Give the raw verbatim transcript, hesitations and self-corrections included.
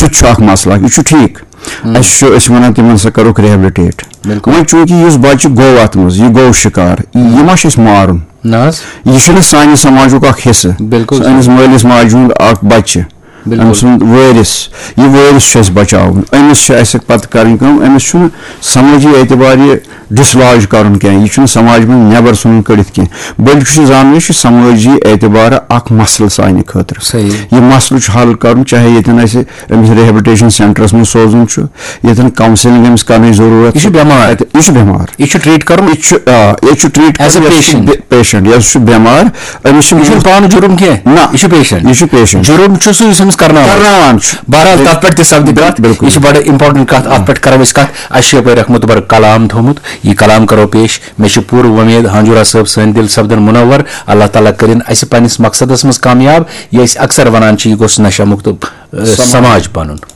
یہِ چھُ اکھ مسلہٕ اکھ، یہِ چھُ ٹھیٖک۔ اَسہِ چھُ، أسۍ وَنان تِمن، سا کَرُکھ rehabilitate۔ بِلکُل۔ وۄنۍ چوٗنٛکہِ یُس بَچہٕ گوٚو اَتھ منٛز، یہِ گوٚو شِکار، یہِ ما چھُ اَسہِ مارُن؟ نہ حظ۔ یہِ چھُنہٕ سانہِ سماجُک اکھ حصہٕ۔ بِلکُل۔ أمِس مٲلِس ماجہِ ہُنٛد اکھ بَچہٕ، بِلکُل۔ أمۍ سُنٛد وٲرِث، یہِ وٲرِث چھُ اَسہِ بَچاوُن۔ أمِس چھُ اَسہِ پَتہٕ کَرٕنۍ کٲم، أمِس چھُنہٕ سمٲجی اعتبار یہِ dislodge کَرُن کینٛہہ، یہِ چھُنہٕ سماج منٛز نٮ۪بر ژھٕنُن کٔڑِتھ کینٛہہ، بلکہِ چھُ زانُن، یہِ چھُ سمٲجی اعتبار اکھ مسلہٕ سانہِ خٲطرٕ۔ صحیح۔ یہِ مسلہٕ چھُ حل کَرُن، چاہے ییٚتٮ۪ن اَسہِ أمِس rehabilitation centreس منٛز سوزُن چھُ، ییٚتٮ۪ن counselling أمِس کَرنٕچ ضروٗرت یہِ چھُ بٮ۪مار۔ اَتہِ، یہِ چھُ بٮ۪مار۔ یہِ چھُ treat کَرُن۔ یہِ چھُ، آ، یہِ چھُ treat As a کَرُن، یہِ چھُ patient۔ بے-، patient، یہِ چھُ بٮ۪مار، أمِس چھُ یہِ چھُنہٕ پانہٕ جُرُم کینٛہہ۔ نہ۔ یہِ چھُ patient۔ یہِ چھُ patient۔ جُرُم چھُ سُہ یُس أمِس کرناوان چھُ۔ کرناوان چھُ۔ بہرحال، تَتھ پٮ۪ٹھ تہِ سپدِ کَتھ۔ بِلکُل۔ یہِ چھِ بڑٕ important کَتھ۔ اَتھ پٮ۪ٹھ کرو أسۍ کَتھ۔ اَسہِ چھُ یَپٲرۍ اکھ مُتبر کلام تھوٚومُت۔ یہِ کلام کرو پیش۔ مےٚ چھِ پوٗرٕ وۄمید ہانجورا صٲب سٲنۍ دِل سپدن منور۔ اللہ تعالیٰ کٔرِن اَسہِ پننِس مقصدس منٛز کامیاب۔ یہِ أسۍ اکثر وَنان چھِ، یہِ گوٚژھ نشہ مُکت، اَ، سماج بنُن۔